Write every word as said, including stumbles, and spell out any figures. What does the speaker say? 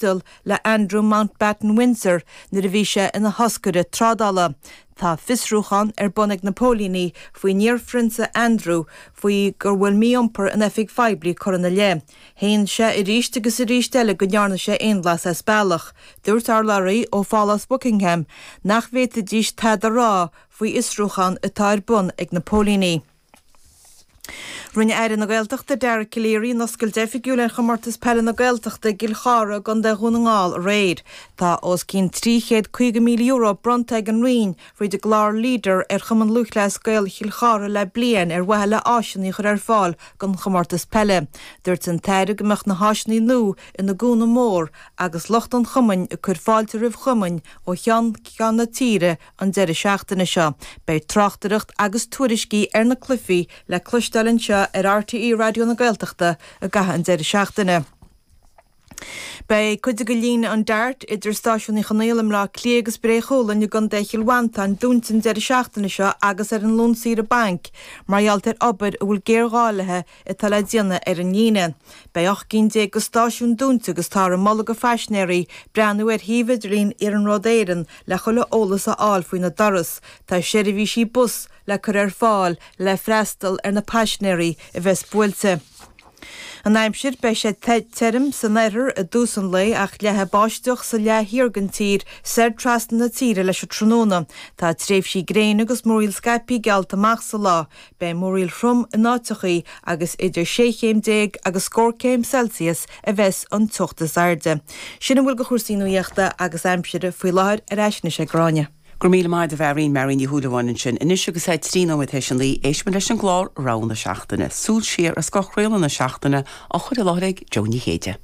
taisteal le Andrew Mountbatten Windsor nuair a bhí sé ina thoscaire trádála. Tá fiosrúchán ar bun ag na póilíní faoin iarphrionsa Andrew faoi go bhfuil mí-iompar in oifig phoiblí curtha ina leith. Shéan sé arís agus arís eile go ndearna sé aon bhlas as bealach. Dúirt urlabhraí ó Phálás Buckingham nach bhféadfaidís tada a rá faoi fhiosrúchán atá ar bun ag na póilíní. Rinne Aire na Gaeltachta Dara Calleary an oscailt oifigiúil ar chomórtas peile na Gaeltachta i gCill Chartha i gContae Dhún na nGall aréir. Tá os cionn trí chéad caoga míle euro bronnta ag an Roinn fríd an gclár Leader ar Chumann Lúthchleas Gael Chill Chartha le bliain ar mhaithe le áiseanna a chur ar fáil don chomórtas peile. Dúirt an tAire go mbeadh na háiseanna nua ina gcúnamh mór agus lucht an chumainn ag cur fáilte roimh chumainn ó cheann ceann na tíre an deireadh seachtaine seo. Beidh tráchtaireacht agus tuairiscí ar na cluichí le cloisteáil anseo ar RTÉ Raidió na Gaeltachta i gcaitheamh an deireadh seachtaine. Beidh cuid de líne an DART idir Stáisiún Uí Chonaill i mBleá Cliath agus Bré Chualainn i gContae Chill Mhantáin dúnta an deireadh seachtaine seo agus ar an Luan saoire bainc mar gheall ar obair a bhfuil géarghá léi atá le déanamh ar an líne. Beidh ocht gcinn déag de stáisiúin dúnta agus táthar ag moladh do phaisinéirí breathnú ar shuíomh idirlín Iarnród Éireann le chuile eolas a fháil faoina dturas. Tá seirbhísí bus le cur ar fáil le freastal ar na paisinéirí a bheas buailte. An aimsir beidh sé tirim san oirthear i dtús an lae ach leathfaidh báisteach sa leath thiar den tír soir trasna na tíre leis an tráthnóna. Tá tréimhsí gréine agus múraíl scaipthe geallta amach sa lá. Beidh múraíl throm in áiteachaí agus idir sé chéim déag agus scór céim Celsius a bheas an teocht is airde. Sin a bhfuil de chúrsaí nuachta agus aimsire faoi láthair ar ais anois ag Gráinne. Go raibh míle maith agat a Mháirín Máirín Ní Shúilleabháin ansin. Anois agus é trí nóiméad théis a naoi éistfimid leis an gclár Rogha na Seachtaine. Súil siar ar scothchraoladh na seachtaine á chur i láthair ag Joe Ní Chéide.